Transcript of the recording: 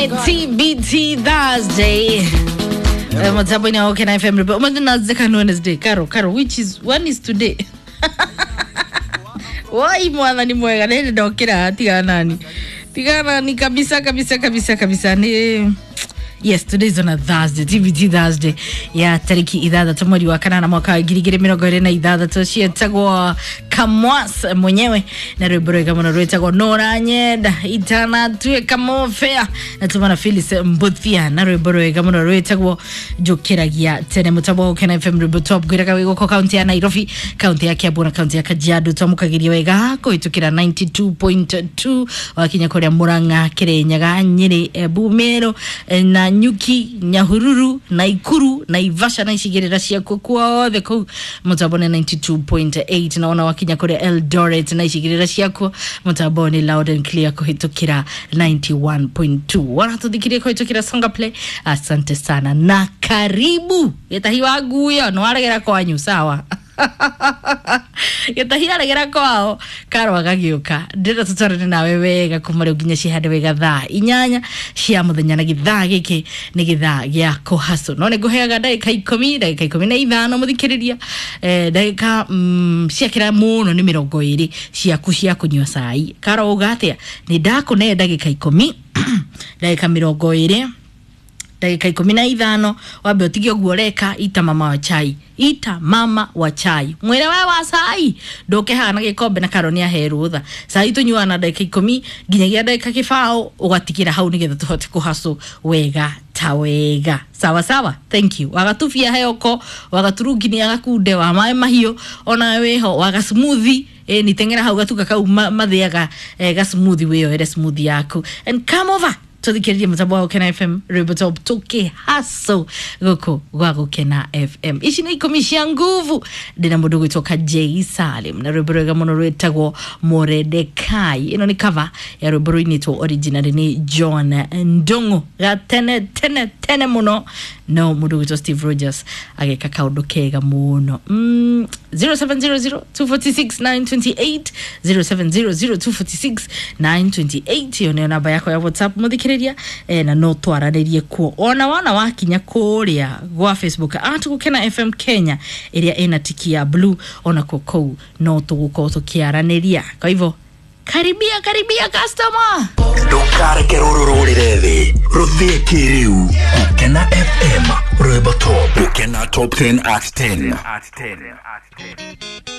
Nĩ TBT Thursday. Mutambo-inĩ wa Gũkena FM rwĩmbo ũmũthĩ na second Wednesday. Karo, Karo, which is when is today? Woi mwathani mwega nĩ ndokĩra tigana nani. Tigana nani kabisa kabisa kabisa kabisa nĩ. Yes, today is on a Thursday, TBT Thursday ya tariki 6 mweri wa kanana mwaka wa 2026, cietagwo Kamwas mwenyewe na rwimbo rwega muno rwitagwo Nora Nyenda itanatuĩka mofea na tuma na Phyllis Mbuthia na rwimbo rwega muno rwitagwo Njũkĩragia Tene. Mũtambo wa Gũkena FM rwimbo top gwĩraga wĩ gũkũ kaunti ya Nairobi, kaunti ya Kiambu na kaunti ya Kajiado, twamũkagĩria wega kũhĩtũkĩra 92.2 wakinya kũrĩa Murang'a, Kirinyaga, Nyĩrĩ, Embu, Meru, na Nyuki, Nyahururu, Naikuru, Naivasha na icigĩrĩra ciakuo kuothe kũu mũtambo nĩ 92.8, na ona wakinya kũrĩa Eldoret na icigĩrĩra ciakuo mũtambo nĩ loud and clear kũhĩtũkĩra 91.2. Waratũthikirie kũhĩtũkĩra Songa Play, asante sana na karibu. Gĩtahi wa nguyo nĩ waregera kwanyu sawa. Gĩtahi aregera kwao karo agagĩũka ndĩrenda tũtwarane nawe wega kuma rĩu nginya cihande wega thaa 8 cia mũthenya, na gĩthaa gĩkĩ nĩ gĩthaa gĩa kũhaco, no nĩ ngũheaga ndagĩka 10, ndagĩka 15 mũthikĩrĩria, ndagĩka ciakĩra mũno nĩ 20 ciaku cia kũnyua cai. Karo uga atĩa? Nĩ ndakũne ndagĩka 10, ndagĩka 20, ndagĩka 15, wambe ũtige ũguo ũreka. Ita mama wa chai, ita mama wa chai, mwĩre we wa cai ndũke haha na gĩkombe, na karo nĩ ahe rũtha. Cai tũnyuaga na ndagĩka 10 nginyagia ndagĩka 20, ũgatigĩra hau nĩgetha tũhote kũhacũ wega ta wega. Sawa sawa, thank you. Wagatubia heoko, wagaturungi nĩ agakunde wa maĩ mahiũ, ona wĩho waga smoothie, nĩ teng'era hau gatuka kau mathĩaga ga smoothie, wĩyoere smoothie yaku and come over tũthikĩrĩrie mũtambo wa Gũkena FM rwĩmbo top tũkĩhaco gũkũ gwa Gũkena FM. Ici nĩ 10 cia nguvu. Ndĩna mũndũ gwĩtwo Kajei Salim na rwĩmbo rwega mũno rwĩtagwo Moredekai. Ĩno nĩ cover ya rwĩmbo rũinĩtwo originally nĩ John Ndung'u gatene tene tene mũno, no mũndũ gwĩtwo Steve Rogers agĩka kaũndũ kega mũno. 0700 246 928, 0700 246 928, ĩyo nĩyo namba yakwa ya WhatsApp mũthikĩrĩria, na no twaranĩrie kuo ona wona wakinya kũrĩa gwa Facebook at Gũkena FM Kenya ĩrĩa ĩna tiki ya blue, ona kuo kũu no tũgũkorwo tũkĩaranĩria. Kwa hivyo karibia karibia customer. Ndũkareke rũrũ rũrĩre thĩ rũthĩe kĩrĩu. Gũkena FM rwĩmbo top. Gũkena top 10 at 10.